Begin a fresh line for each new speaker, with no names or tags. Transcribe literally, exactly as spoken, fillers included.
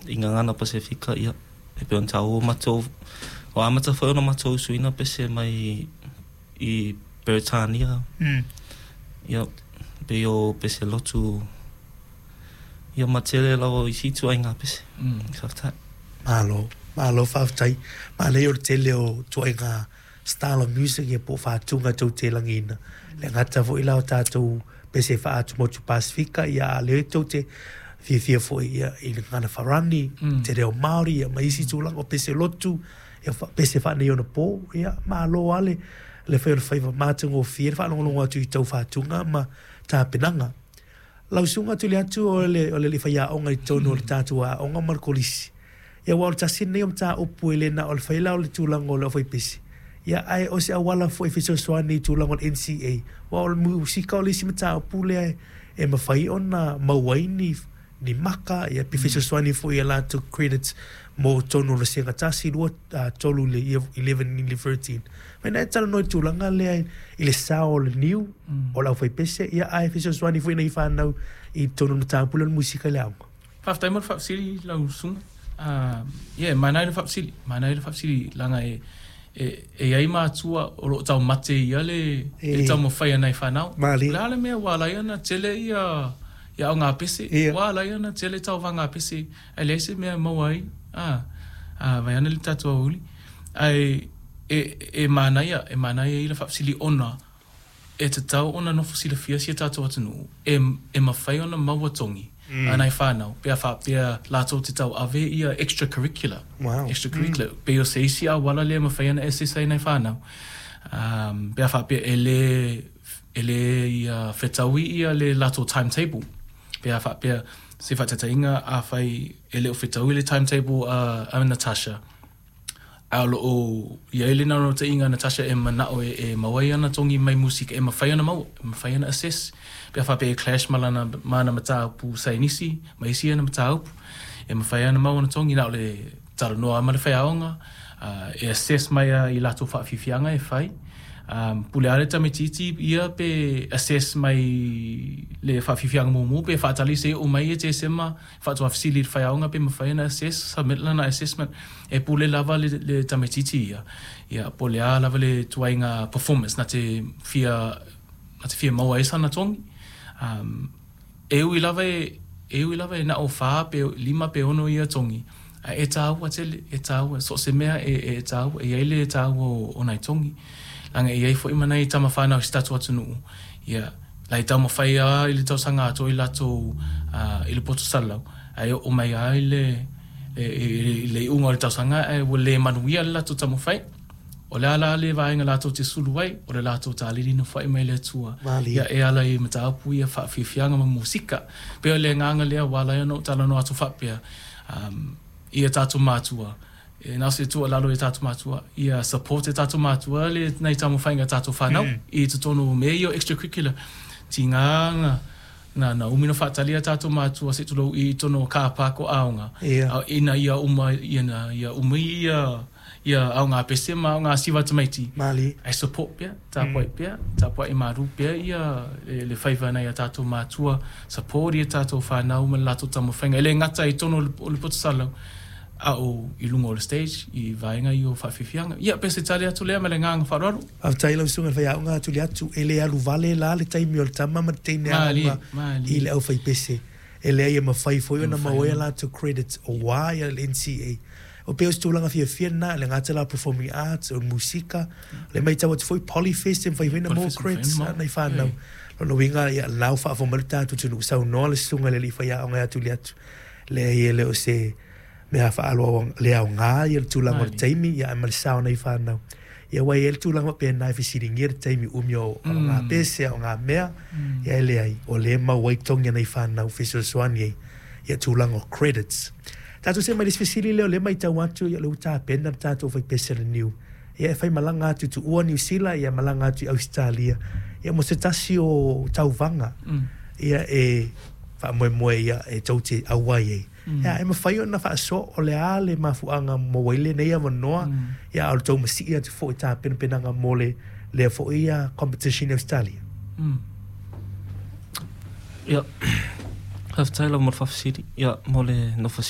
I gagana Pasefika, ia, e pei ona taua matou, ua amata foi ona matou usuina pese mai i Peretania. Ia, pei o pese lotu, ia, ma tele lava o isi ituaiga pese. Faafetai.
Malo, malo faafetai. Manaia o le tele o ituaiga style of music ia po o faatuga tou te lagiina. Le gata foi la o tatou pese faa-atumotu Pasefika, ia a o lea tou te fiafia foi ia i le gagana farani, te reo Māori ia ma isi tulaga o pese lotu, ia pese faaneionapo. Ia malo lava le le fai o le faiva matagofie le faalogologo atu i tou faatuga ma tapenaga. Lau Susuga Tuliatu o le o le alii faiaoga i totonu o le tatou aoga ma le kolisi. Ia aua o le tasi lenei o mataupu e le na o le fai la o le tulaga o le aufaipese, ia ae o se auala foi e fesoasoani i tulaga o le N C A, aua o le musika o le isi mataupu lea e mafai ona maua ai ni ni maka, ia pe fesoasoani foi i a latou credits mo totonu o le vasega tasi, lua, tolu i le eleven i le thirteen. Mai na e talanoa i le tulaga lea i le sao o le niu, o le aufaipese, ia ae fesoasoani foi nei whanau i totonu o le mataupu lea o le musika i le aoga.
Faafetai mo le faafesili lau susuga. Ia, manaia le faafesili, manaia le faafesili leaga e e e i ai matua o loo taumate ia le e taumafai ana i whanau.
Malie.
O le a le mea ua ala ai ona tele ia ia aoga pese, ua ala ai ona tele tauvaga pese, ae leai se mea e maua ai, a a vaeane le tatou aoauli. Ae e e manaia, e manaia i le faafesili ona e tatau ona nofo silafia si a tatou atunuu e e mafai ona maua togi a nai whanau, pe a faapea latou te tauave ia extracurricular.
Wow.
Extracurricular. Mm. Pei o se isi auala lea e mafai ona assess ai nai whanau. Um, pe a faapea e le, e le ia fetaui ia le latou timetable. Pe a faapea se faataitaiga afai e le o fetaui le timetable a, a Natasha, a o loo i ai le naunautaiga a Natasha e manao e, e maua ai ana togi mai musika, e mafai ona maua, e mafai ona assess. Pe a faapea e clash ma lana, ma ana mataupu saienisi, ma isi ana mataupu, e mafai ona maua ana togi, na o le talanoa ma le faiaoga, uh, e assess mai a i latou faafiafiaga e fai. Um, pule lava le tamaitiiti ia pe assess mai le faafiafiaga mumu pe faatali se oo mai e Tesema faatoa fesili i le faiaoga pe mafai ona assess, submit lana assessment. E pule lava le, le tamaitiiti ia ia po o le a lava le tuaiga performance na te fia na te fia maua ai sana togi. Um, e ui lava e e ui lava e na o fa pe lima pe ono ia togi, ae e tāua tele, e tāua so o se mea e e tāua, e i ai le tāua o, o nai togi leaga e i ai foi ma nai tama whanau i se tatou atunuu ia la i taumafai lava i le tausaga atoa i latou i le poto salalau ae oo mai lava i le i le iuga o le tausaga ae ua le manuia le latou taumafai. O le a la le vaega latou te sulu ai, o le latou talili na foai mai le Atua
Malie.
ia e ala i mataupu ia faafiafiaga ma musika. Pei o le agaga lea ua ala ai ona ou talanoa atu faapea um, i a tatou matua. E na o se tuualalo i a tatou matua, ia support e tatou matua le nai taumafaiga a tatou whanau
Mm.
i totonu o mea ia o extracurricular. Tiga na na na umi ona faatali a tatou matua se i tulou i totonu o car park o aoga.
Ia.
A ina ia uma ina ia umi ia ia aoga pese ma aoga siva tamaiti.
Malie.
Ae support pea, tapuai pea, tapuai maru pea ia le, le faiva nai a tatou matua, support ia tatou whanau ma le latou taumafaiga. E le gata i totonu o le, o le poto salalau, a o i luga o le stage, i vaega ia o faafiafiaga. Ia, pe se tali atu lea ma le agaga faaaloalo.
Faafetai lau susuga i le faiaoga Tuliatu, e le alu vale la le taimi o le tama ma le teine
Malie,
aoga
malie.
i le aufaipese. E leai e mafai foi
E
ona
mafai
maua ai
ona.
latou credits aua ia le N C A. O pei o se tulaga fiafia lena, le gata la performing arts, o le musika, le matau atu foi Polyfest e mafai foi ona maua
Polyfest e mafai
credits
ona maua.
nai whanau.
E.
Lona uiga, ia, lau faafofoga mai le tatou atunuu, saunoa le susuga i le alii faiaoga ia Tuliatu. Leai e le o se mea faaloa le aoga ia le tulaga o le
Malie.
taimi, ia ae ma le sao nai whanau. Ia aua e i ai le tulaga faapena e fesiligia le taimi umi o o ngā
Mm.
pese, o ngā mea,
Mm.
ia e leai, o lea e maua ai togi a nai whanau fesoasoani ai, ia tulaga o credits. Tatou see mai le isi fesili lea o lea e matau atu, ia o lea ua tapena le tatou aufaipese le niu. Ia e faimalaga atu i tuua Niu Sila, ia malaga atu i Ausetalia. Ia mo se tasi o tauvaga,
Mm.
ia e faamoemoe ia e tou te auai ai.
Mm.
Ia e mafai ona faasoa o le a le mafuaaga maua ai lenei avanoa,
Mm.
ia a o le tou masii atu foi i tapenapenaga mo le lea foi ia competition i Australia.
Mm.
Ia, faafetai lava mo le faafesili, ia, mo le nofo